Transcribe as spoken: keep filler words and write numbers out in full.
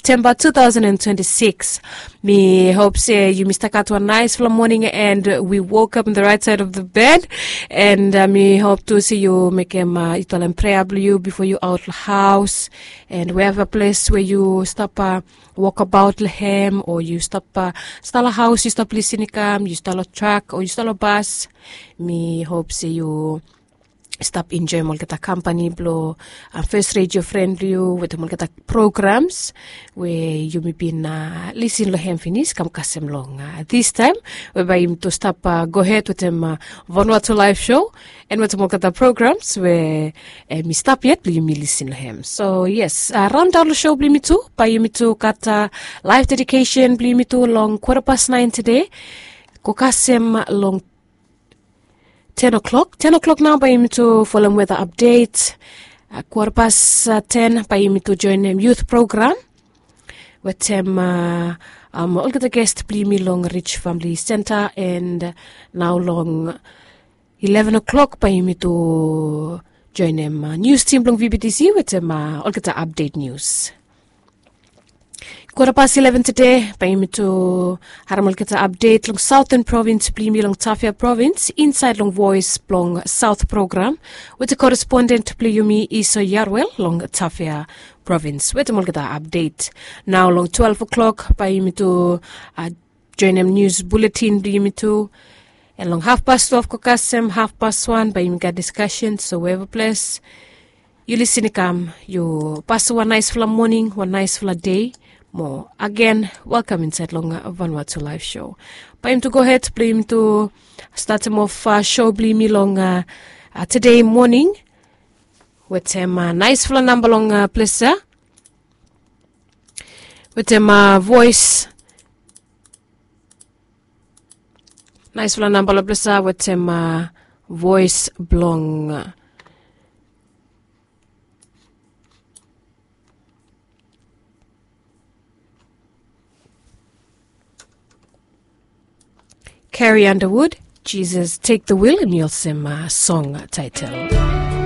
Septemba two thousand and twenty-six. Mi hop se yumi stap gat wan naisfala moning and wi wokap in the right side of the bed. And mi hop tu se yu mekem yu talem prea blong yu bifo yu aot long haos. And wherever ples we yu stap wokabaot long hem o yu stap stap long haos, yu stap lisin i kam, yu stap long trak o yu stap long bas, mi hop se yu stap enjoem olgeta kampani blong fes redio fren blong yu wetem olgeta programs we yumi bin lisin long hem finis kam kasem long distaem, we bae yumi tu stap gohed wetem Vanuatu Laef Sho and wetem olgeta programs we mi stap yet blong yumi lisin long hem. So yes, raondaon long sho blong yumi tu bae yumi tu gat laef dedikesen blong yumi tu long kwata pas naen tede go kasem long ten o'clock. Ten o'clock nao bae yumi tu folem weta apdet. Kwata pas ten bae yumi tu joenem yut program wetem olgeta gest blong yumi long Rij Famili Senta. And nao long eleven o'clock bae yumi tu joenem nius tim blong VBTC wetem olgeta apdet nius. Kwata pas eleven tede bae yumi tu harem olgeta apdet long saoten provins blong yumi long Tafea provins insaed long Voes blong Saot program wetem koresponden blong yumi Iso Yarwel long Tafea provins wetem olgeta apdet. Nao long twelve o'clock bae yumi tu joenem nius buletin blong yumi tu. And long hafpas twelve go kasem hafpas wan bae yumi gat diskasen. So weva ples yu lisin i kam, yu pasem wan naesfala moning, wan naesfala dei. Mo agen, welkam insaed long Vanuatu Laef Sho. Bae yumi tu gohed blong yumi tu statem of sho blong yumi long tede moning wetem naesfala namba long ples ya wetem voes. Naesfala namba long ples ya wetem voes blong Carrie Underwood, Jesus Take the Wheel, hemi olsem song taetel.